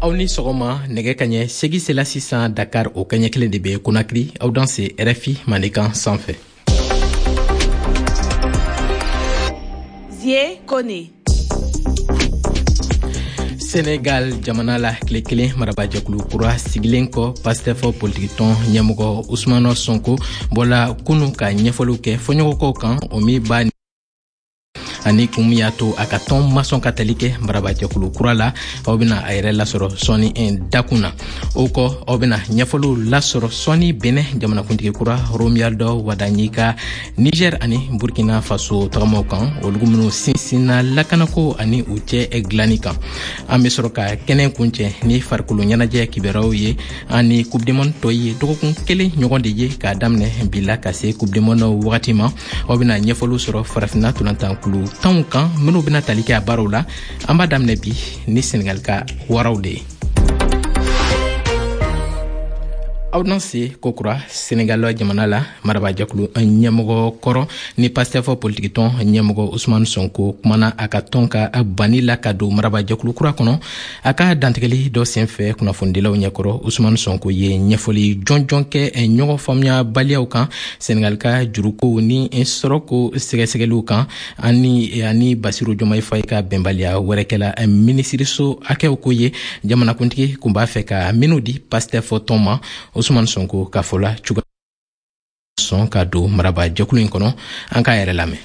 Aw ni sɔgɔma. Nɛgɛ kaɲɛ 8 sela sisan Dakar, o kaɲɛ 1 de bɛ Konakiri. Aw danse RFI Mandenkan sanfɛ. Zie Kone. Senegal jamana la, tile 1 marabajɛkulu kura sigilen kɔ, Pastef politikitɔn ɲɛmɔgɔ Usumano Sonko bɔla kunu ka ɲɛfɔliw kɛ fɔɲɔgɔnkɔw kan, o min b'a ani kun min y'a to a ka tɔn ma sɔn ka tali kɛ marabajɛkulu kura la. Aw bena a yɛrɛ lasɔrɔ sɔɔni dakun na. O kɔ, aw bena ɲɛfɔliw lasɔrɔ sɔɔni Benɛ jamanakuntigi kura Romuald Wadagni ka Niger ani Burkina Faso tagamaw kan, olugu minw sinsinna lakanako ani u cɛ dilanni kan. An be sɔrɔ ka kɛnɛ kuncɛ ni farikolo ɲɛnajɛ kibaruyaw ye ani Coupe du monde tɔ ye dɔgɔkun 1 ɲɔgɔn de ye k'a daminɛ bi la ka se Coupe du monde wagati ma. Aw bena ɲɛfɔliw sɔrɔ Farafinna tolantankulu 10w kan minw bena tali kɛ a baaraw la. An b'a daminɛ bi ni Senegal ka Waraw de ye. Aw danse kokura. Senegal jamana la, marabajɛkulu ɲɛmɔgɔ kɔrɔ ni Pastef politikitɔn ɲɛmɔgɔ Usumani Sonko kumana a ka tɔn ka banni la ka don marabajɛkulu kura kɔnɔ. A ka dantigɛli dɔ senfɛ kunnafonidilaw ɲɛkɔrɔ, Usumani Sonko ye ɲɛfɔli jɔnjɔn kɛ ɲɔgɔn faamuyabaliyaw kan, Senegal ka jurukow ni sɔrɔko sɛgɛsɛgɛliw kan, ani Basiru Jomayi Faye ka bɛnbaliya wɛrɛ kɛla minisiriso hakɛw ko ye, jamanakuntigi kun b'a fɛ ka minnu di Pastef tɔn ma. Usumani Sonko ka fɔ la, cogoya sɔn ka don marabajɛkulu in kɔnɔ. An k'a yɛrɛ lamɛn.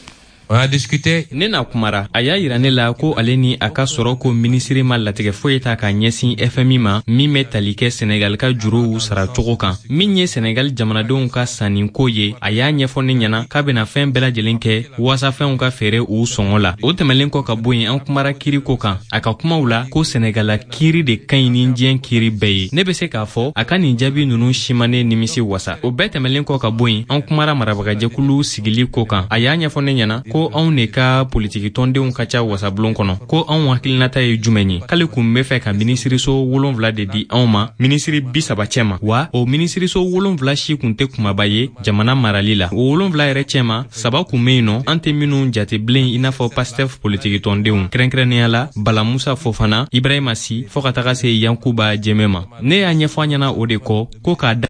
On a discuté. Ne n'a kumara. A y'a yira ne la ko ale ni a ka sɔrɔ ko minisiri ma latigɛ foyi ta k'a ɲɛsin FMI ma min bɛ tali kɛ Senegal ka juruw sara cogo kan. Min ye Senegal jamanadenw ka sanniko ye, a y'a ɲɛfɔ ne ɲɛna k'a bɛna fɛn bɛɛ lajɛlen kɛ waasa fɛnw ka feere u sɔngɔ la. O tɛmɛlen kɔ ka bɔ yen, an kumara kiriko kan. A ka kumaw la ko Senegala kiiri de ka ɲi ni diɲɛ kiiri bɛɛ ye. Ne bɛ se k'a fɔ a ka nin jaabi ninnu si ma ne nimisi wasa. O bɛɛ tɛmɛlen kɔ ka bɔ yen, an kumara marabagajɛkulu sigili ko kan. A y'a ɲɛfɔ ne ɲɛna ko anw de ka politiki tɔndenw ka ca wasabulon kɔnɔ, ko anw hakilinata ye jumɛn ye. K'ale kun bɛ fɛ ka minisiriso 7 de di anw ma minisiri 30 cɛma, wa o minisiriso 7 si kun tɛ kumaba ye jamana marali la. O 7 yɛrɛ cɛma, saba kun bɛ yen nɔ, an tɛ minnu jate bilen i n'a fɔ Pastef politiki tɔndenw, kɛrɛnkɛrɛnnenya la Bala Musa Fofana, Ibrahima Si, fɔɔ ka taga se Yankuba Jɛmɛ ma. Ne y'a ɲɛfɔ a ɲɛna o de kɔ ko k'a da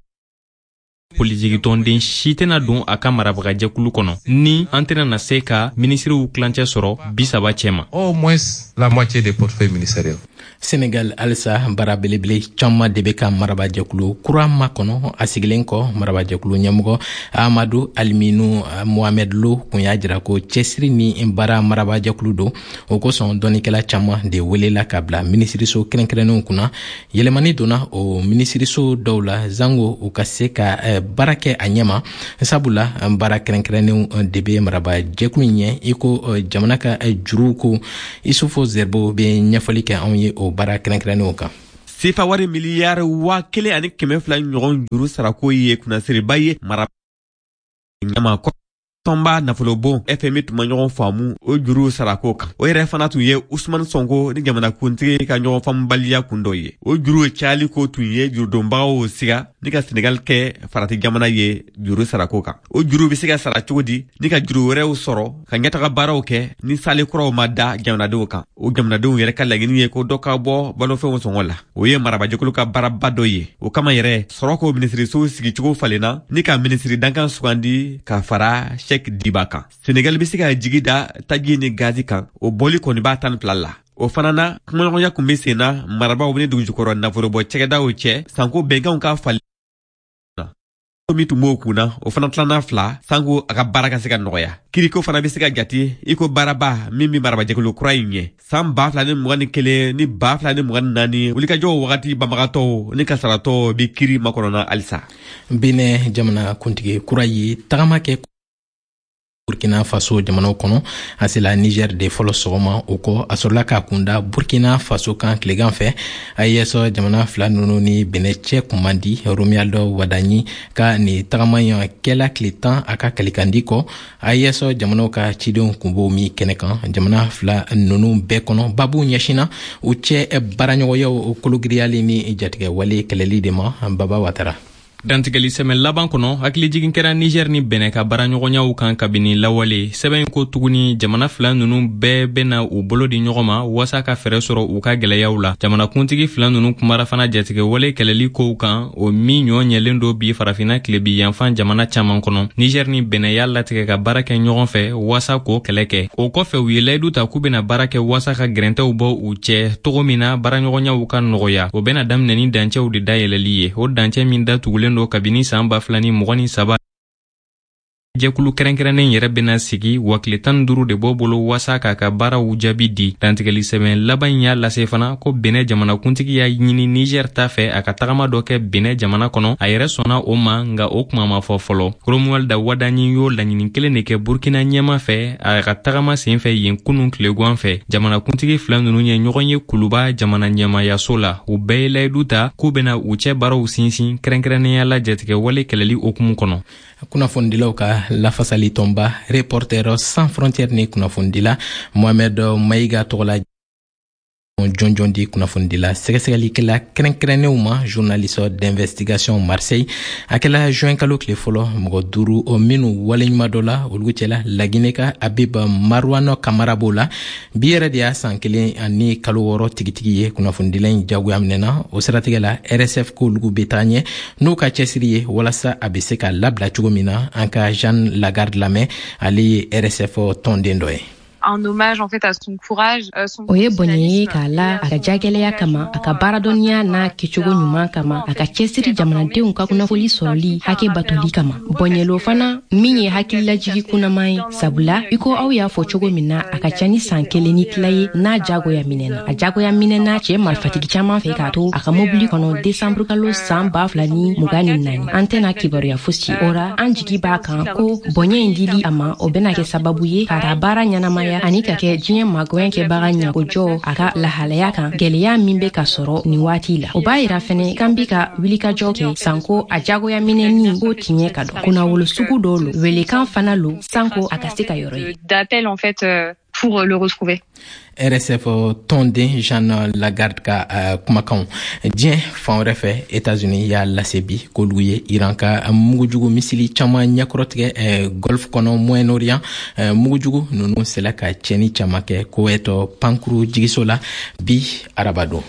politiki tɔnden si tɛna don a ka marabagajɛkulu kɔnɔ ni an tɛna na se ka minisiriw tilancɛ sɔrɔ 30 cɛma. Au moins la moitié des portefeuilles ministériels. Senegal halisa, baara belebele caaman de bɛ ka marabajɛkulu kura makɔnɔ. A sigilen kɔ, marabajɛkulu ɲɛmɔgɔ Amadu Aliminu Mohamed Lo kun y'a jira ko cɛsiri ni baara marabajɛkulu don. O kosɔn, dɔnnikɛla caaman de welela ka bila minisiriso kɛrɛnkɛrɛnnenw kunna. Yɛlɛmani donna o minisiriso dɔw la zango u ka se ka baara kɛ a ɲɛma, sabula baara kɛrɛnkɛrɛnnenw de bɛ marabajɛkulu ɲɛ, i ko jamana ka juruw ko. Isufu Zerbo bɛ ɲɛfɔli kɛ anw ye o baara kɛrɛnkɛrɛnnenw kan. Sefa wari miliyari 1200 ɲɔgɔn juru sarako ye kunnasiriba ye mara ɲama. Tɔnba nafolobon FMI tun ma ɲɔgɔn faamu o juru sarako kan. O yɛrɛ fana tun ye Usumani Sɔnko ni jamanakuntigi ka ɲɔgɔn faamubaliya kun dɔ ye. O juru cayali ko tun ye jurudonbagaw siga ni ka Senegal kɛ farati jamana ye juru sarako kan. O juru bɛ se ka sara cogo di ni ka juru wɛrɛw sɔrɔ ka ɲɛtaga baaraw kɛ ni sale kuraw ma da jamanadenw kan? O jamanadenw yɛrɛ ka laɲini ye ko dɔ ka bɔ balofɛnw sɔngɔ la. O ye marabajɛkulu ka baaraba dɔ ye. O kama yɛrɛ, sɔrɔ ko minisiriso sigicogo falenna ni ka minisiri dankan sugandi ka fara Sɛk Diba kan. Senegal bɛ se ka jigi da taji ni gazi kan, o bɔli kɔni b'a 12 la. O fana na, kumaɲɔgɔnya kun bɛ sen na marabaaw ni dugujukɔrɔ nafolobɔ cɛgɛdaw cɛ sanko bɛnkanw ka falen min tun b'o kun na, o fana tilanna fila sanko a ka baara ka se ka nɔgɔya. Kiriko fana bɛ se ka jate i ko baaraba min bɛ marabajɛkulu kura in ɲɛ. San 2021 ni 2024 wulikajɔw wagati banbagatɔw ni kasaratɔw bɛ kiri makɔnɔna halisa. Benɛ jamana kuntigi kura ye tagama kɛ Burkina Faso jamanaw kɔnɔ. A sela Niger de fɔlɔ sɔgɔma. O kɔ, a sɔrɔla k'a kunda Burkina Faso kan tilegan fɛ. AES jamana fila ninnu ni Benɛ cɛ kun man di. Romuald Wadagni ka nin tagama in kɛla tile 10 a ka kalikandi kɔ, AES jamanaw ka cidenw kun b'o min kɛnɛ kan. Jamana fila ninnu bɛɛ kɔnɔ, babu ɲɛsinna u cɛ baaraɲɔgɔnyaw kologiriyali ni jatigɛwale kɛlɛli de ma. Baba Watara. Dantigɛli sɛbɛn laban kɔnɔ, hakilijigin kɛra Niger ni Benin ka baaraɲɔgɔnyaw kan kabini lawale. Sɛbɛn in ko tuguni, jamana fila ninnu bɛɛ bɛna u bolo di ɲɔgɔn ma waasa ka fɛɛrɛ sɔrɔ u ka gwɛlɛyaw la. Jamanakuntigi fila ninnu kumara fana jatigɛwale kɛlɛli kow kan, o min ɲɔ ɲɛlen don bi Farafinna tilebi yanfan jamana caman kɔnɔ. Niger ni Benin y'a latigɛ ka baara kɛ ɲɔgɔn fɛ waasa k'o kɛlɛ kɛ. O kɔfɛ, u ye layidu ta k'u bɛna baara kɛ waasa ka gɛrɛntɛw bɔ u cɛ cogo min na baaraɲɔgɔnyaw ka nɔgɔya. O bɛna daminɛ ni dancɛw de dayɛlɛli ye, o dancɛ min datugulen don kabini san 2023. Jɛkulu kɛrɛnkɛrɛnnen yɛrɛ bɛna sigi wa tile 15 de b'o bolo waasa k'a ka baaraw jaabi di. Dantigɛli sɛbɛn laban in y'a lase fana ko Benin jamanakuntigi y'a ɲini Niger ta fɛ a ka tagama dɔ kɛ Benin jamana kɔnɔ. A yɛrɛ sɔnna o ma, nka o kuma ma fɔ fɔlɔ. Romuald Wadagni y'o laɲini kelen de kɛ Burkina ɲɛma fɛ a ka tagama sen fɛ yen kunun tilegan fɛ. Jamanakuntigi fila ninnu ye ɲɔgɔn ye Kuluba jamana ɲɛmayaso la. U bɛɛ ye layidu ta k'u bɛna u cɛ baaraw sinsin, kɛrɛnkɛrɛnnenya la jatigɛwale kɛlɛli hukumu kɔnɔ. Kunnafonidilaw ka lafasali tɔnba Reporters sans frontières ni kunnafonidila Mohamed Mayiga tɔgɔla jɔnjɔn di kunnafonidila sɛgɛsɛgɛlikɛla kɛrɛnkɛrɛnnenw ma, journaliste d'investigation Marseille. A kɛla juin kalo tile fɔlɔ. Mɔgɔ duuru o minnu waleɲuman dɔ la, olu cɛla Laginɛ ka Habib Marouane Kamara b'o la. Bi yɛrɛ de y'a san 1 ani kalo 6 tigitigi ye kunnafonidila in jagoya minɛna. O siratigɛ la, RSF k'olu bɛ taa ɲɛ n'u ka cɛsiri ye walasa a bɛ se ka labila cogo min na. An ka Jeanne Lagarde lamɛn, ale ye RSF tɔnden dɔ ye. Un hommage en fait à son courage, son O ye bonya ye k'a la a ka jagɛlɛya kama, a ka baaradɔnniya n'a kɛcogo ɲuman kama, a ka cɛsiri jamanadenw ka kunnafoli sɔrɔli hakɛ batoli kama. Bɔnyɛlo fana min ye hakililajigi kunnaman ye, sabula i ko aw y'a fɔ cogo min na, a ka ca ni san kelen ni tila ye n'a jagoya minɛna. A jagoya minɛna cɛɛ marifatigi caaman fɛ k'a to a ka mobili kɔnɔ desanburu kalo san 2024. An tɛna kibaruya fosi o ra. An jigi b'a kan ko bonya in dili a ma, o bɛna kɛ sababu ye ka ta baara ɲɛnamaya ani ka kɛ diɲɛ magwɛn kɛbaga ɲakojɔ a ka lahalaya kan, gwɛlɛya min bɛ ka sɔrɔ nin waati la. O b'a yira fɛnɛ k'an bi ka wulikajɔ kɛ sanko a jagoya minɛni ko tiɲɛ ka dɔn. Kunnawolo sugu dɔ lo, welekan fana lo sanko a ka se ka yɔrɔ ye. D'appel en fait pour le retrouver. RSF tɔnden Jeanne Lagarde ka kumakanw. Diɲɛ fan wɛrɛ fɛ, États-Unis y'a lase bi k'olu ye Iran ka mugujugu misili caman ɲɛkɔrɔtigɛ Golfe kɔnɔ, Moyen-Orient. Mugujugu ninnu sela ka tiɲɛni caman kɛ Koweït pankuru jigiso la bi arabadon.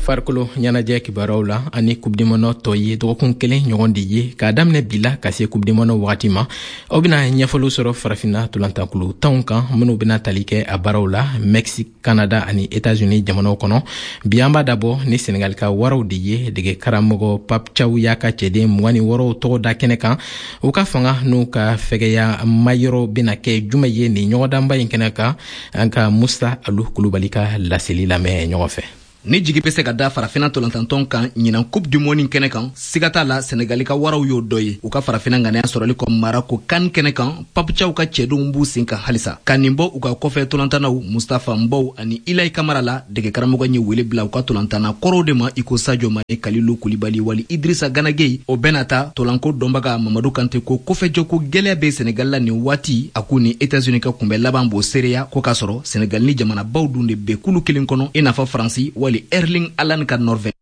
Farikolo ɲɛnajɛ kibaruyaw la, ani Coupe du monde tɔ ye dɔgɔkun kelen ɲɔgɔn de ye k'a daminɛ bi la ka se Coupe du monde wagati ma, aw bɛna ɲɛfɔliw sɔrɔ Farafinna tolantankulu tanw kan minnu bɛna tali kɛ a baaraw la Mexique, Canada ani États-Unis jamanaw kɔnɔ. Bi, an b'a dabɔ ni Senegal ka waraw de ye. Dege karamɔgɔ Pape Thiaw y'a ka cɛden 26 tɔgɔ da kɛnɛ kan. U ka fanga n'u ka fɛgɛya mayɔrɔ bɛna kɛ jumɛn ye nin ɲɔgɔndanba in kɛnɛ kan? An ka Musa Alu Kulubali ka laseli lamɛn ɲɔgɔn fɛ. Ni jigi bɛ se ka da Farafina tolantantɔn kan ɲinan Coupe du monde kɛnɛ kan, siga t'a la, Senegali ka waraw y'o dɔ ye. U ka Farafina ŋaniya sɔrɔli kɔ Marako CAN kɛnɛ kan, Pape Thiaw ka cɛdenw b'u sen kan halisa ka nin bɔ u ka kɔfɛ tolantannaw Moustapha Mbow ani Ilay Kamara la. Dege karamɔgɔ ye wele bila u ka tolantanna kɔrɔw de ma, i ko Sadio Mane, Kalilou Koulibaly wali Idrissa Gana Gueye. O bɛna ta tolanko dɔnbaga Mamadu Kante ko kɔfɛjɔko gwɛlɛya bɛ Senegal la nin waati. A k'u ni États-Unis ka kunbɛ laban b'o seereya ko k'a sɔrɔ Senegal ni jamanabaw dun de bɛ kulu kelen kɔnɔ, i n'a fɔ Faransi wali Erling Haaland ka Norvège.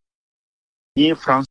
Ni ye France,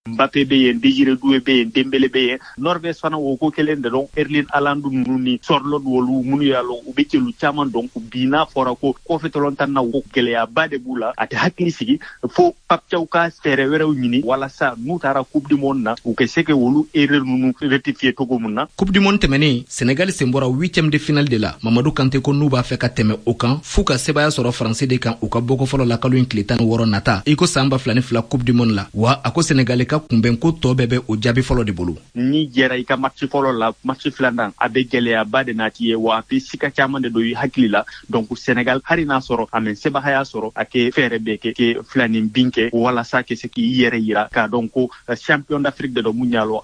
Mbappé bɛ yen, Désiré Doué bɛ yen, Dembélé bɛ yen. Norvège fana, o ko kelen de don, Erling Haaland ninnu ni Sorloth, olu minnu y'a lɔn u bɛ celu caman dɔn. Bi n'a fɔra ko kɔfɛ tɔlɔntan na, ko gɛlɛyaba de b'u la, a tɛ hakili sigi fo Pape Thiaw ka fɛɛrɛ wɛrɛw ɲini walasa n'u taara Coupe du monde na, u ka se ka olu erreur ninnu rectifier cogo mun na. Coupe du monde tɛmɛnen, Senegal sen bɔra huitième de finale de la. Mamadu Kante ko n'u b'a fɛ ka tɛmɛ o kan, f'u ka sebaya sɔrɔ Faransi de kan u ka bɔko fɔlɔ la kalo in tile 16 nata, i ko san 2002 Coupe du monde la. Wa a ko Senegali ka kunbɛnko tɔ bɛɛ bɛ o jaabi fɔlɔ de bolo. Ni jɛra i ka match fɔlɔ la, match filanan a bɛ gɛlɛyaba de nati ye, wa a bɛ sika caman de don i hakili la. Donc Sénégal, hali n'a sɔrɔ a mɛ sebagaya sɔrɔ, a kɛ fɛɛrɛ bɛɛ kɛ ke filanin bin kɛ walasa ke se k'i yɛrɛ yira k'a dɔn ko champion d'Afrique de dɔ mun y'a lɔ.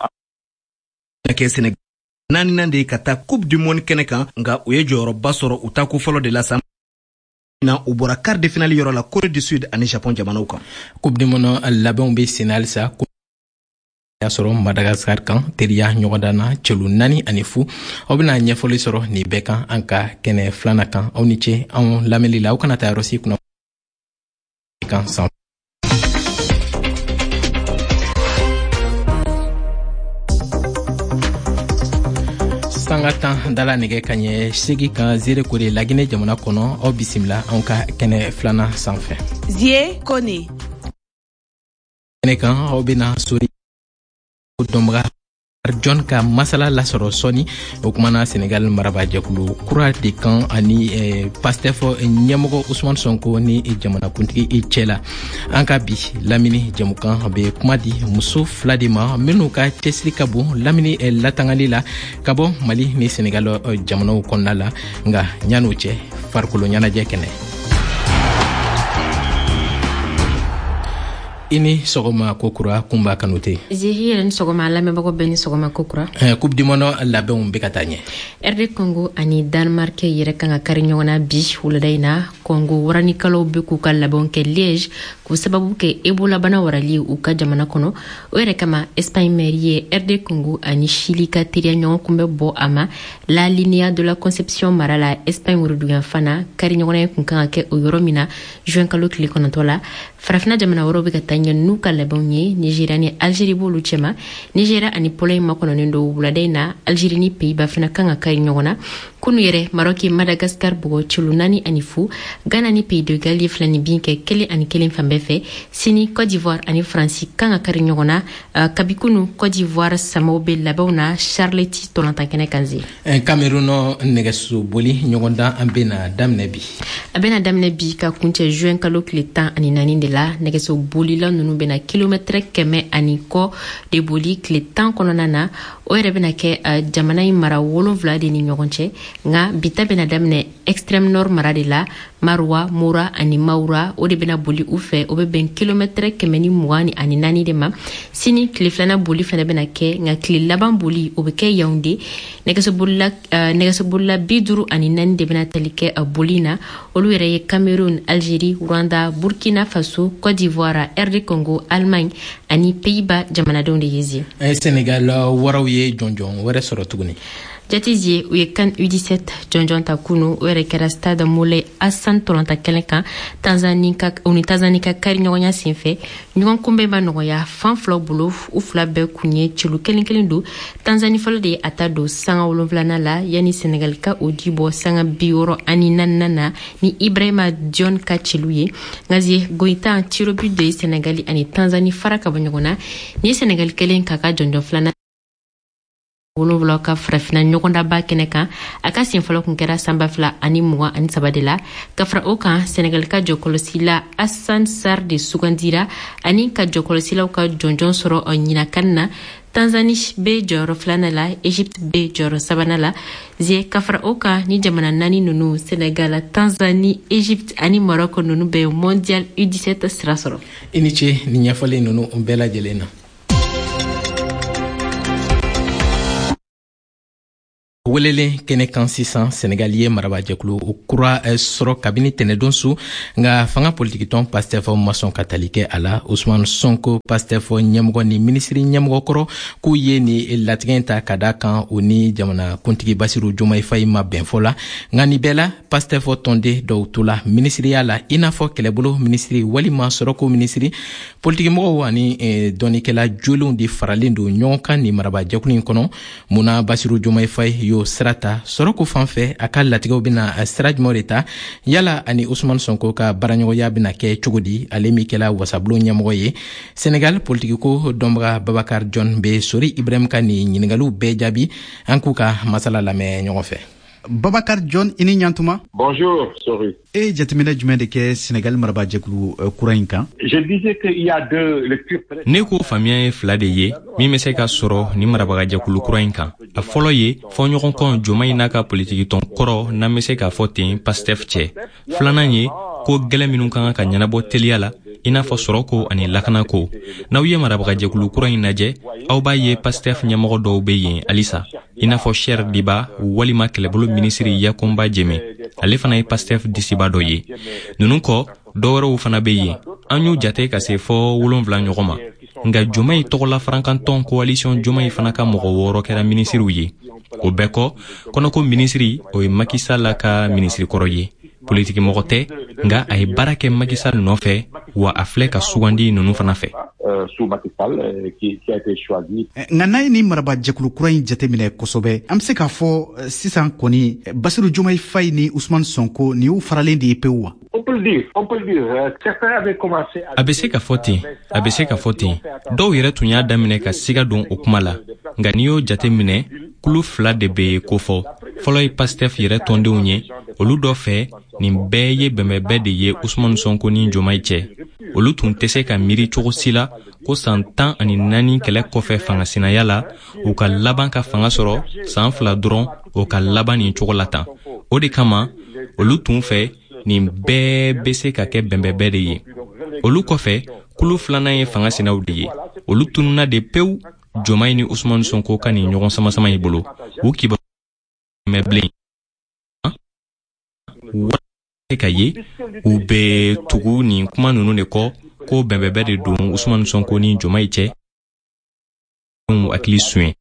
Kɛ Sénégal naaninan de ye ka taa Coupe du monde kɛnɛ kan, nka u ye jɔyɔrɔba sɔrɔ u tako fɔlɔ de la san na, u bɔra quart de finale yɔrɔ la Corée du Sud ani Japon jamanaw kan. Coupe du monde labɛnw bɛ sen halisa. Y'a sɔrɔ Madagascar kan teriya ɲɔgɔndan na celu 4-0. Aw bɛna ɲɛfɔli sɔrɔ nin bɛɛ kan an ka kɛnɛ filanan kan. Aw ni ce anw lamɛnli la. Aw kana taa yɔrɔ si kunna kan san. Sanga 10 dala nɛgɛ kaɲɛ 8 kan Zerekore, Laginɛ jamana kɔnɔ. Aw bisimila anw ka kɛnɛ filanan sanfɛ. Zie Kone. Kɛnɛ kan, aw bena Sori dɔnbaga John ka masala lasɔrɔ sɔni. O kumana Senegal marabajɛkulu kura de kan ani Pastef ɲɛmɔgɔ Usman Sonko ni jamanakuntigi cɛ la. An ka bi lamini jɛmukan bɛ kuma di muso fila de ma minnu ka cɛsiri ka bon lamini latangali la ka bɔ Mali ni Senegal jamanaw kɔnɔna la. Nka ɲan'o cɛ, farikolo ɲɛnajɛ kɛnɛ. I ni sɔgɔma kokura, Kunba Kanute. Zihi yɛrɛ ni sɔgɔma, lamɛnbagaw bɛɛ ni sɔgɔma kokura. Coupe du monde labɛnw bɛ ka taa ɲɛ. RD Congo ani Danemark yɛrɛ kan ka kari ɲɔgɔn na bi wulada in na. Congo waranikalaw bɛ k'u ka labɛnw kɛ Liège k'u sababu kɛ Ebola bana warali u ka jamana kɔnɔ. O yɛrɛ kama, Espagne maire ye RD Congo ani Chili ka teriya ɲɔgɔn kunbɛ bɔ a ma La Linea de la Conception mara la, Espagne woroduguyanfan na. Kari ɲɔgɔnna kun kan ka kɛ o yɔrɔ min na juin kalo tile 9 la. Farafina jamana wɛrɛw bɛ ka taa ɲɛ n'u ka labɛnw ye. Nigeria ni Algérie b'olu cɛma. Nigeria ani Pologne makɔnɔnen don wulada in na. Algérie ni Pays-Bas fana kan ka kari ɲɔgɔn na. Kunu yɛrɛ, Maroc ye Madagascar bugɔ celu 4-0. Ghana ni Pays de Galles ye 2 bin kɛ 1-1 fan bɛɛ fɛ. Sini, Côte d'Ivoire ani Faransi kan ka kari ɲɔgɔn na. Kabi kunu, Côte d'Ivoire samaw bɛ labɛnw na Charlety tɔlɔntan kɛnɛ kan ze. Cameroun nɛgɛso boli ɲɔgɔndan an bɛna daminɛ bi. A bɛna daminɛ bi ka kuncɛ juin kalo tile 14 de la. Nɛgɛso bolila ninnu bɛna kilomɛtɛrɛ 100 ani kɔ de boli tile 10 kɔnɔna na. O yɛrɛ bɛna kɛ jamana in mara wolonfila de ni ɲɔgɔn cɛ. Nka bita bɛna daminɛ Extrême Nord mara de la. Maroua, Mora ani Maroua, o de bɛna boli u fɛ. O bɛ bɛn kilomɛtɛrɛ 124 de ma. Sini, tile filanan boli fana bɛna kɛ, nka tile laban boli, o bɛ kɛ Yaoundé. Nɛgɛsobolila 54 de bɛna tali kɛ boli na. Olu yɛrɛ ye Cameroun, Algérie, Rwanda, Burkina Faso, Côte d'Ivoire, RD Congo, Allemagne ani Pays-Bas jamanadenw de ye zi. Sénégal waraw ye jɔnjɔn wɛrɛ sɔrɔ tuguni. Jatizie, u ye CAN U17 jɔnjɔn ta kunu. O yɛrɛ kɛra Stade Moulay Hassan tɔlɔnta kɛnɛ kan, Tanzanie ka u ni Tanzanie ka kari ɲɔgɔnya senfɛ. Ɲɔgɔn kunbɛn ma nɔgɔya fan filaw bolo. U fila bɛɛ kun ye celu kelen kelen don. Tanzanie fɔlɔ de ye a ta don sanga 7nan la, yanni Senegal ka o di bɔ sanga 64nan na ni Ibrahima Dion ka celu ye. Nka goyitan tirs au but de ye Senegali ani Tanzanie fara ka bɔ ɲɔgɔn na. Ni ye Senegali kelen k'a ka jɔnjɔn filanan 7 ka farafina ɲɔgɔndaba kɛnɛ kan. A ka sen fɔlɔ kun kɛra san 2023 de la. Ka fara o kan, Senegal ka jɔkɔlɔsila Hassan Sar de sugandira ani ka jɔkɔlɔsilaw ka jɔnjɔn sɔrɔ ɲinakan na. Tanzanie bɛ jɔyɔrɔ filanan la, Egypte bɛ jɔyɔrɔ sabanan la ze. Ka fara o kan, ni jamana naani ninnu, Senegal, Tanzanie, Egypte ani Maroc, ninnu bɛ Mondial U17 sira sɔrɔ. I ni ce ni ɲɛfɔli ninnu bɛɛ lajɛlen na. Welelen kɛnɛ kan sisan, Senegal ye marabajɛkulu kura sɔrɔ kabini tɛnɛdon su, nka fanga politikitɔn Pastef ma sɔn ka tali kɛ a la. Usman Sonko, Pastef ɲɛmɔgɔ ni minisiri ɲɛmɔgɔ kɔrɔ, k'u ye ni latigɛ ta ka da kan u ni jamana kuntigi Basiru Jomayi Fayi ma bɛn fɔ la. Nka nin bɛɛ la, Pastef tɔnden dɔw tola minisiriya la, i n'a fɔ kɛlɛbolo minisiri walima sɔrɔko minisiri. Politikimɔgɔw ani dɔnnikɛla jolenw de faralen don ɲɔgɔn kan nin marabajɛkulu in kɔnɔ. Munna Basiru Jomayi Fayi y'o sira ta sɔrɔko fan fɛ? A ka latigɛw bɛna sira jumɛnw de ta? Yala ani Usman Sonko ka baaraɲɔgɔnya bɛna kɛ cogo di, ale min kɛla wasabulon ɲɛmɔgɔ ye? Senegal politikiko dɔnbaga Babakar John bɛ Sori Ibrahim ka nin ɲiningaliw bɛɛ jaabi. An k'u ka masala lamɛn ɲɔgɔn fɛ. Babakar John, i ni ɲantuma. Bonjour, Sori. E ye jateminɛ jumɛn de kɛ Senegal marabajɛkulu kura in kan? Je disais qu'il y a deux lectures. Ne ko faamuya ye fila de ye min bɛ se ka sɔrɔ ni marabagajɛkulu kura in kan. A fɔlɔ ye fɔɲɔgɔnkɔ Joma n'a ka politikitɔn kɔrɔ, n'an bɛ se k'a fɔ ten, Pastef cɛ. Filanan ye ko gwɛlɛn minw ka kan ka ɲɛnabɔ teliya la, i n'a fɔ sɔrɔko ani lakanako. N'aw ye marabagajɛkulu kura in lajɛ, aw b'a ye Pastef ɲɛmɔgɔ dɔw be yen halisa, i n'a fɔ Cher Diba walima kɛlɛbolo minisiri Yakumba Jeme, ale fana ye Pastef disiba dɔ ye. Nunu kɔ, dɔwɛrɛw fana be yen, an y'u jate ka se fɔɔ 7 ɲɔgɔn ma. Nka Jomayi tɔgɔla farankantɔn Coalition Jomayi fana ka mɔgɔ wɔɔrɔ kɛra minisiriw ye. O bɛɛ kɔ, kɔnɔko minisiri, o ye Macky Sall ka minisiri kɔrɔ ye. Politikimɔgɔ tɛ, nka a ye baara kɛ Macky Sall nɔfɛ. Wa a filɛ ka sugandi ninnu fana fɛ. Nka n'a ye nin marabajɛkulu kura in jateminɛ kosɛbɛ, an bɛ se k'a fɔ sisan kɔni Basiru Jomayi Fayi ni Usumani Sonko, nin y'u faralen de ye pewu wa? A bɛ se ka fɔ ten, a bɛ se ka fɔ ten. Dɔw yɛrɛ tun y'a daminɛ ka siga don o kuma la. Nka n'i y'o jate minɛ, kulu fila de bɛ kofɔ. Fɔlɔ ye Pastef yɛrɛ tɔndenw ye. Olu dɔ fɛ, nin bɛɛ ye bɛnbɛnbɛn de ye Usumani Sonko ni Jomayi cɛ. Olu tun tɛ se ka miiri cogo si la ko san 14 kɛlɛ kɔfɛ fangasinaya la, u ka laban ka fanga sɔrɔ san 2 dɔrɔn, o ka laban nin cogo la tan. O de kama olu tun fɛ nin bɛɛ bɛ se ka kɛ bɛnbɛnbɛn de ye. Olu kɔfɛ, kulu filanan ye fanga sinaw de ye. Olu tununna de pewu Jomayi ni Usumani Sonko ka nin ɲɔgɔn samasama in bolo. U kibaru mɛn bilen ka ye, u bɛ tugu nin kuma ninnu de kɔ ko bɛnbɛnbɛn de don Usumani Sonko ni Jomayi cɛ. Hakili suɲɛ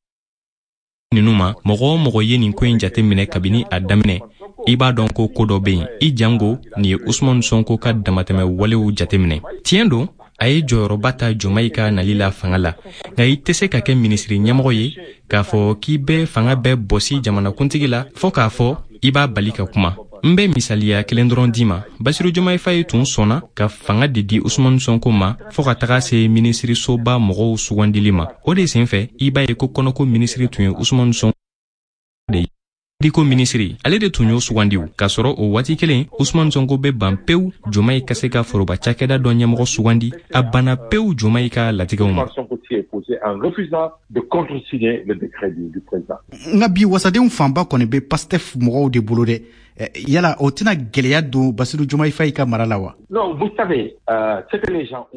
ninnu ma, mɔgɔ o mɔgɔ ye nin ko in jate minɛ kabini a daminɛ, i b'a dɔn ko ko dɔ bɛ yen. I jango nin ye Usumani Sonko ka damatɛmɛ walew jateminɛ. Tiɲɛ don, a ye jɔyɔrɔba ta Jomayi ka nali la fanga la, nka i tɛ se ka kɛ minisiri ɲɛmɔgɔ ye k'a fɔ k'i bɛ fanga bɛɛ bɔsi jamanakuntigi la fɔɔ k'a fɔ i b'a bali ka kuma. N bɛ misaliya kelen dɔrɔn d'i ma. Basiru Jomayi Fayi tun sɔnna ka fanga de di Usumani Sonko ma fɔɔ ka taga se minisirisoba mɔgɔw sugandili ma. O de senfɛ, i b'a ye ko kɔnɔko minisiri tun ye Usumani Sonko de ye. Ko minisiri, ale de tun y'o sugandiw, k'a sɔrɔ o waati kelen Usumani Sonko bɛ ban pewu Jomayi ka se ka foroba cakɛda dɔ ɲɛmɔgɔ sugandi. A banna pewu Jomayi ka latigɛw ma. Nka bi wasadenw fanba kɔni bɛ Pastef mɔgɔw de bolo dɛ. Yala o tɛna gɛlɛya don Basiru Jomayi Fayi ka mara la wa?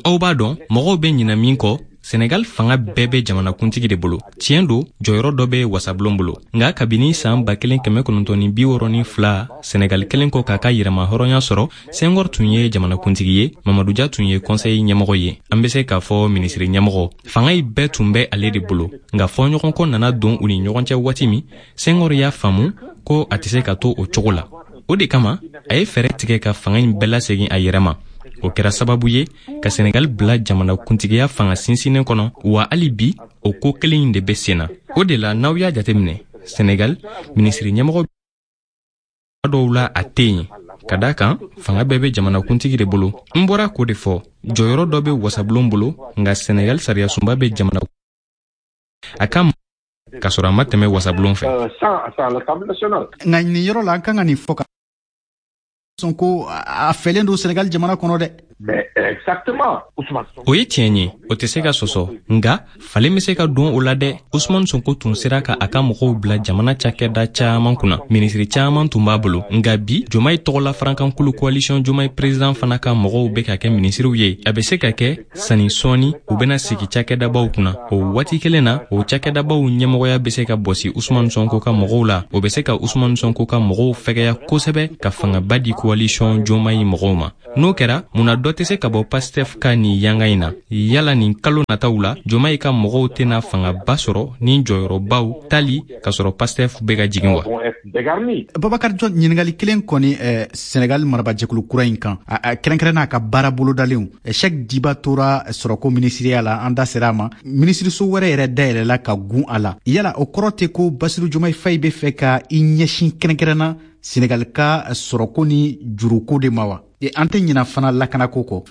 Aw b'a dɔn, mɔgɔw bɛ ɲinɛ min kɔ, Senegal fanga bɛɛ bɛ jamanakuntigi de bolo. Tiɲɛ don, jɔyɔrɔ dɔ bɛ wasabulon bolo. Nka kabini san 1962, Senegal kelen kɔ k'a ka yɛrɛma hɔrɔnya sɔrɔ, Senghor tun ye jamanakuntigi ye, Mamadu Dia tun ye conseil ɲɛmɔgɔ ye, an bɛ se k'a fɔ minisiri ɲɛmɔgɔ. Fanga in bɛɛ tun bɛ ale de bolo. Nka fɔɲɔgɔnkɔ nana don u ni ɲɔgɔn cɛ waati min, Senghor y'a faamu ko a tɛ se ka to o cogo la. O de kama a ye fɛɛrɛ tigɛ ka fanga in bɛɛ lasegin a yɛrɛ ma. O kɛra sababu ye ka Senegal bila jamanakuntigiya fanga sinsinnen kɔnɔ, wa hali bi o ko kelen in de bɛ sen na. O de la, n'aw y'a jateminɛ, Senegal minisiri ɲɛmɔgɔ dɔw la, a tɛ yen, ka da kan fanga bɛɛ bɛ jamanakuntigi de bolo. N bɔra k'o de fɔ, jɔyɔrɔ dɔ bɛ wasabulon bolo, nka Senegal sariyasunba bɛ jamana a ka k'a sɔrɔ a ma tɛmɛ wasabulon fɛ. Nka nin yɔrɔ la, an kan ka nin fɔ ka Sonko a fɛlen don Senegal jamana kɔnɔ dɛ. O ye tiɲɛ ye, o tɛ se ka sɔsɔ. Nka falen bɛ se ka don o la dɛ. Usumani Sonko tun sera ka a ka mɔgɔw bila jamana cakɛda caman kunna, minisiri caman tun b'a bolo. Nka bi, Jomayi tɔgɔla farankankulu coalition Jomayi président fana ka mɔgɔw bɛ ka kɛ minisiriw ye. A bɛ se ka kɛ sanni sɔɔni u bɛna sigi cakɛdabaw kunna. O waati kelen na, o cakɛdabaw ɲɛmɔgɔya bɛ se ka bɔsi Usumani Sonko ka mɔgɔw la. O bɛ se ka Usumani Sonko ka mɔgɔw fɛgɛya kosɛbɛ ka fangaba di coalition Jomayi mɔgɔw ma. N'o kɛra, munna dɔ tɛ se ka bɔ Pastef ka nin yanga in na? Yala nin kalo nataw la, Jomayi ka mɔgɔw tɛna fangaba sɔrɔ ni jɔyɔrɔbaw tali k'a sɔrɔ Pastef bɛ ka jigin wa? Babakar Jɔn, ɲininkali kelen kɔni Senegal marabajɛkulu kura in kan, kɛrɛnkɛrɛn n'a ka baara bolodalenw. Cheikh Diba tora sɔrɔko minisiriya la, an da sera a ma. Minisiriso wɛrɛ yɛrɛ dayɛlɛla ka gun a la. Yala o kɔrɔ tɛ ko Basiru Jomayi Fayi bɛ fɛ ka i ɲɛsin kɛrɛnkɛrɛnna Senegal ka sɔrɔko ni juruko de ma wa? An tɛ ɲina fana lakanako kɔ.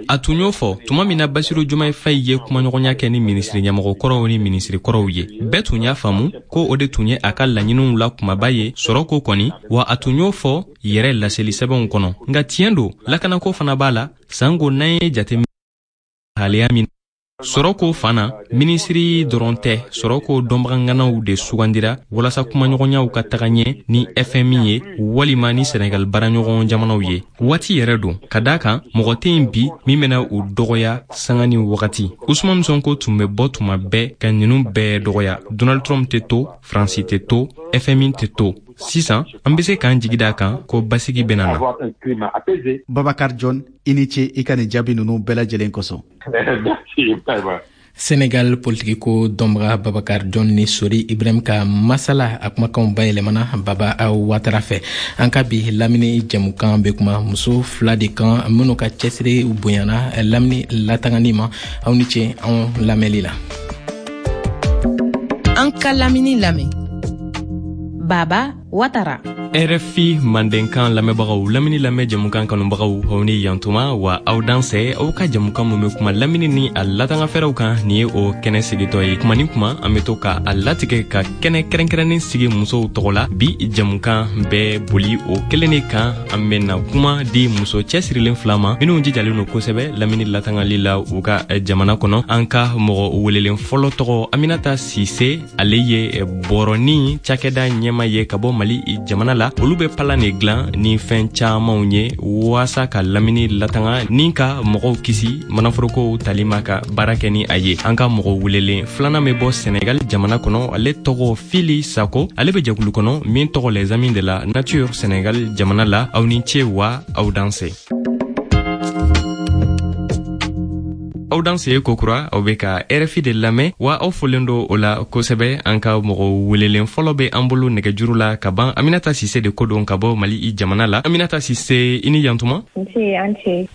A tun y'o fɔ tuma min na Basiru Jomayi Fayi ye kumaɲɔgɔnya kɛ ni minisiri ɲɛmɔgɔ kɔrɔw ni minisiri kɔrɔw ye, bɛɛ tun y'a faamu ko o de tun ye a ka laɲiniw la kumaba ye, sɔrɔko kɔni. Wa a tun y'o fɔ yɛrɛ laseli sɛbɛnw kɔnɔ. Nka tiɲɛ don, lakanako fana b'a la, sanko n'an ye jate haleya min sɔrɔko fan na. Minisiri dɔrɔn tɛ, sɔrɔko dɔnbaganganaw de sugandira walasa kumaɲɔgɔnyaw ka taga ɲɛ ni FMI ye walima ni Senegal baaraɲɔgɔn jamanaw ye. Waati yɛrɛ don, ka da kan mɔgɔ tɛ yen bi min bɛna u dɔgɔya sanga ni wagati. Usumani Sonko tun bɛ bɔ tuma bɛɛ ka ninnu bɛɛ dɔgɔya. Donald Trump tɛ to, Faransi tɛ to, FMI tɛ to. Sisan an bɛ se k'an jigi da kan ko basigi bɛna na. Babakar John, i ni ce i ka nin jaabi ninnu bɛɛ lajɛlen kosɔn. Senegal politikiko dɔnbaga Babakar John ni Sori Ibrahim ka masala, a kumakanw bayɛlɛmana Baba Watara fɛ. An ka bi lamini jɛmukan bɛ kuma muso fila de kan minnu ka cɛsiri bonyana lamini latangani ma. Aw ni ce anw lamɛnli la. An ka lamini lamɛn, Baba Watara. RFI Mandenkan lamɛnbagaw, lamini lamɛn jɛmukan kanubagaw, aw ni yantuma wa aw dansɛ. Aw ka jɛmukan mun bɛ kuma lamini ni a latangafɛɛrɛw kan, nin ye o kɛnɛ sigitɔ ye. Kuma ni kuma, an bɛ to ka a latigɛ ka kɛnɛ kɛrɛnkɛrɛnnen sigi musow tɔgɔ la. Bi jɛmukan bɛ boli o kelen de kan. An bɛna kuma di muso cɛsirilen fila ma minnu jijalen don kosɛbɛ lamini latangali la u ka jamana kɔnɔ. An ka mɔgɔ welelen fɔlɔ tɔgɔ Aminata Sise. Ale ye bɔrɔni cakɛda ɲɛma ye ka bɔ Mali jamana la. Olu bɛ palan de dilan ni fɛn camanw ye waasa ka lamini latanga ni ka mɔgɔw kisi manaforokow tali ma ka baara kɛ ni a ye. An ka mɔgɔ welelen filanan bɛ bɔ Senegal jamana kɔnɔ. Ale tɔgɔ Fili Sako. Ale bɛ jɛkulu kɔnɔ min tɔgɔ Les Amis de la Nature Senegal jamana la. Aw ni ce wa aw danse. Aw danse kokura. Aw be ka RFI de lamɛn wa aw folen do o la kosɛbɛ. An ka mɔgɔ welelen fɔlɔ be an bolo nɛgɛjuru la ka ban. Aminata Sise de ko don ka bɔ Mali i jamana la. Aminata Sise, i ni yantuma.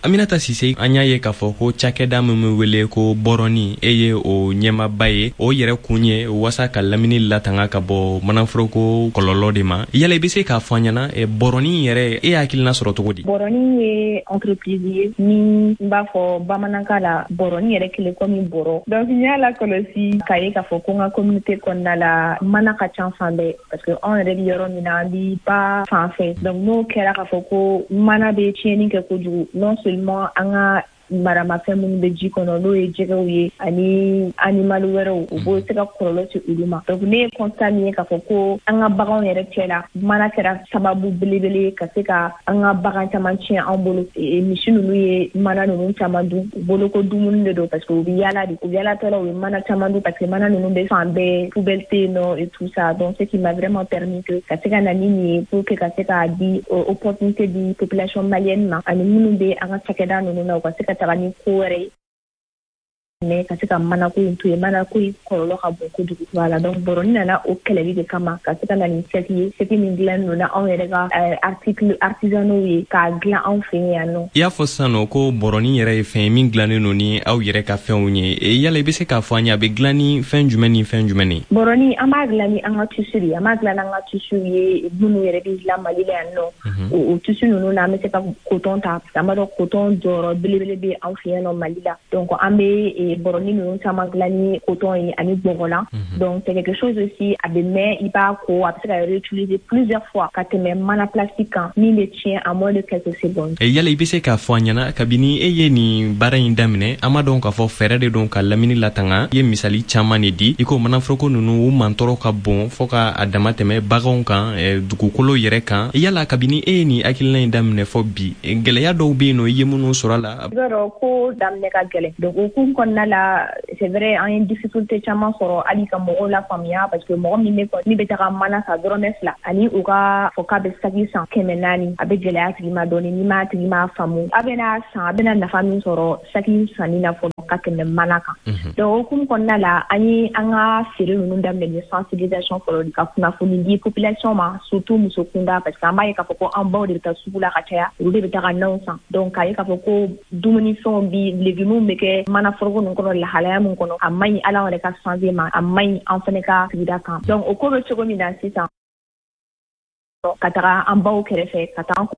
Aminata Sise, an y'a ye k'a fɔ ko cakɛda min be wele ko Bɔrɔni, e ye o ɲɛmaba ye. O yɛrɛ kun ye waasa ka lamini latanga ka bɔ manaforoko kɔlɔlɔ de ma. Yala i be se k'a fɔ an ɲɛna, bɔrɔni yɛrɛ, e hakilina sɔrɔ cogo di? Bɔrɔni ye entreprise ye ni n b'a fɔ bamanankan la bɔrɔni yɛrɛ kelen komi bɔrɔ. Donc n y'a lakɔlɔsi k'a ye k'a fɔ ko n ka communauté kɔnɔna la, mana ka ca fan bɛɛ, parce que anw yɛrɛ bɛ yɔrɔ min na, an bi ba fan fɛ. Donc n'o kɛra k'a fɔ ko mana bɛ tiɲɛni kɛ kojugu, non seulement an ka maramafɛn minnu bɛ ji kɔnɔ, n'o ye jɛgɛw ye ani animal wɛrɛw, u b'o se ka kɔlɔlɔ se olu ma. Donc ne ye constat min ye k'a fɔ ko an ka baganw yɛrɛ cɛ la, mana kɛra sababu belebele ka se ka an ka bagan caman tiɲɛ an bolo. Misi ninnu ye mana ninnu caman dun, u bolo ko dumuni de don, parce que u bɛ yaala de, u yaalatɔ la, u bɛ mana caman dun, parce que mana ninnu bɛ fan bɛɛ, poubelle tɛ yen nɔ et tout ça. Donc ce qui m'a vraiment permis que ka se ka na ni nin ye pour que ka se k'a di opportunité di population malienne ma ani minnu bɛ an ka cakɛda ninnu na, u ka se ka taga ni ko wɛrɛ ye, mais ka se ka manako in to yen. Manako in kɔlɔlɔ ka bon kojugu. Voilà, donc bɔrɔni nana o kɛlɛli de kama, ka se ka na ni saki ye, saki min dilan don na anw yɛrɛ ka article artisanaux ye, k'a dilan anw fɛ yan nɔ. I y'a fɔ sisan nɔ ko bɔrɔni yɛrɛ ye fɛn ye min dilannen don ni aw yɛrɛ ka fɛnw ye. Yala i bɛ se k'a fɔ an ye, a bɛ dilan ni fɛn jumɛn ni fɛn jumɛn ye? Bɔrɔni, an b'a dilan ni an ka tissu de ye. An b'a dilan n'an ka tissu ye minnu yɛrɛ bɛ dilan Mali la yan nɔ. O tissu ninnu na, an bɛ se ka coton ta, parce que an b'a dɔn coton jɔyɔrɔ belebele bɛ anw fɛ yan nɔ Mali la. Donc an bɛ bɔrɔni ninnu caman dilan ni coton ye ani bɔgɔlan. Donc c'est quelque chose aussi, a bɛ mɛn, i b'a ko, a bɛ se ka réutiliser plusieurs fois ka tɛmɛ mana plastique kan min bɛ tiɲɛ en moins de quelques secondes. Yala i bɛ se k'a fɔ an ɲɛna, kabini e ye nin baara in daminɛ, an b'a dɔn k'a fɔ fɛɛrɛ de don ka lamini latanga. I ye misali caman de di, i ko manaforoko ninnu u mantɔrɔ ka bon fɔɔ ka a dama tɛmɛ baganw kan, dugukolo yɛrɛ kan. Yala kabini e ye nin hakilina in daminɛ fɔ bi, gɛlɛya dɔw bɛ yen nɔ i ye minnu sɔrɔ a la? I b'a dɔn ko daminɛ ka gɛlɛn. Donc o kun kɔnɔna la, c'est vrai, an ye difficulté caman sɔrɔ hali ka mɔgɔw lafaamuya, parce que mɔgɔ min bɛ min bɛ taga mana san dɔrɔmɛ 2 ani u ka fɔ k'a bɛ saki san 400, a bɛ gɛlɛya tigi ma dɔɔni n'i m'a tigi m'a faamu a bɛna san, a bɛna nafa min sɔrɔ saki sanni na fɔlɔ ka tɛmɛ mana kan. Donc o hukumu kɔnɔna la, an ye an ka feere ninnu daminɛ ni sensibilisation fɔlɔ, ka kunnafoni di population ma, surtout muso kunda, parce que an b'a ye k'a fɔ ko an baw de bɛ taa sugu la ka caya, olu de bɛ taga nanw san. Donc k'a ye k'a fɔ ko dumunifɛnw bi légumes bɛ kɛ mana foroko ninnu kɔnɔ lahalaya min kɔnɔ, a man ɲi hali an yɛrɛ ka santé ma, a man ɲi an fɛnɛ ka sigida kan. Donc o ko bɛ cogo min na sisan, ka taga an baw kɛrɛfɛ, ka taa an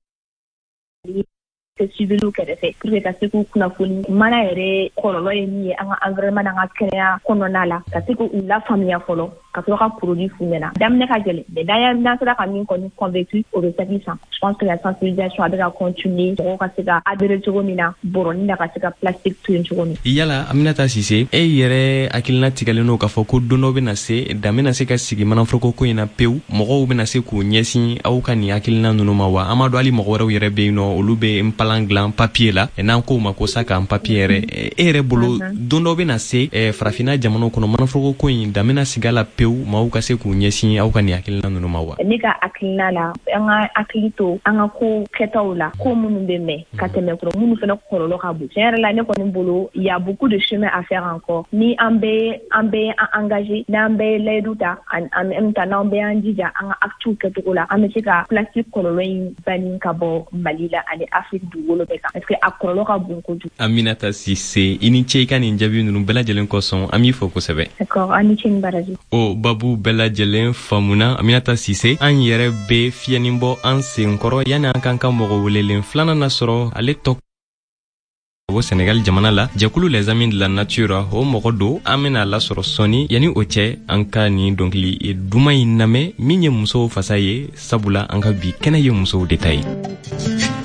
civiliw kɛrɛfɛ pour que ka se k'u kunnafoni mana yɛrɛ kɔlɔlɔ ye min ye an ka environnement n'an ka kɛnɛya kɔnɔna la, ka se k'u lafaamuya fɔlɔ ka sɔrɔ ka produit f'u ɲɛna. Daminɛ ka gɛlɛn, mais n'an sera ka min kɔni convaincu, o bɛ saki san. Je pense que la sensibilisation a bɛ ka continuer, mɔgɔw ka se ka adhérer cogo min na bɔrɔni na, ka se ka plastique to yen cogo min. Yala Aminata Sise, e yɛrɛ hakilina tigɛlen don k'a fɔ ko don dɔ bɛna se, dan bɛna se ka sigi manaforoko ko in na pewu, mɔgɔw bɛna se k'u ɲɛsin aw ka nin hakilina ninnu ma wa? An b'a dɔn hali mɔgɔ wɛrɛw yɛrɛ bɛ yen nɔ, olu bɛ npalan dilan papier la, n'an k'o ma ko sac en papier yɛrɛ. E yɛrɛ bolo, don dɔ bɛna se farafinna jamanaw kɔnɔ, manaforoko ko in dan bɛna sigi a la pewu? pewu maaw ka se k'u ɲɛsin aw ka nin hakilina ninnu ma wa? Ne ka hakilina la, an ka hakili to an ka ko kɛtaw la, ko minnu bɛ mɛn ka tɛmɛ kɔrɔ, minnu fana kɔlɔlɔ ka bon. Tiɲɛ yɛrɛ la, ne kɔni bolo, il y a beaucoup de chemin à faire encore. Ni an bɛ an bɛ an engagé, n'an bɛ layidu ta, en même temps n'an bɛ y'an jija an ka actes kɛcogo la, an bɛ se ka plastique kɔlɔlɔ in bani ka bɔ Mali la ani Afrique dugukolo bɛɛ kan, parce que a kɔlɔlɔ ka bon kojugu. Aminata Sise, i ni ce i ka nin jaabi ninnu bɛɛ lajɛlen kosɔn, an b'i fo kosɛbɛ. D'accord, aw ni ce ni baraji. O babu bɛɛ lajɛlen faamuna, Aminata Sise. An yɛrɛ bɛ fiyɛnin bɔ an senkɔrɔ yanni an k'an ka mɔgɔ welelen filanan nasɔrɔ. Ale tɔ bɔ Senegal jamana la, jɛkulu Les Amis de la Nature o mɔgɔ don. An bena lasɔrɔ sɔɔni. Yanni o cɛ, an ka nin dɔnkili duman in lamɛn min ye musow fasa ye, sabula an ka bi kɛnɛ ye musow de ta ye.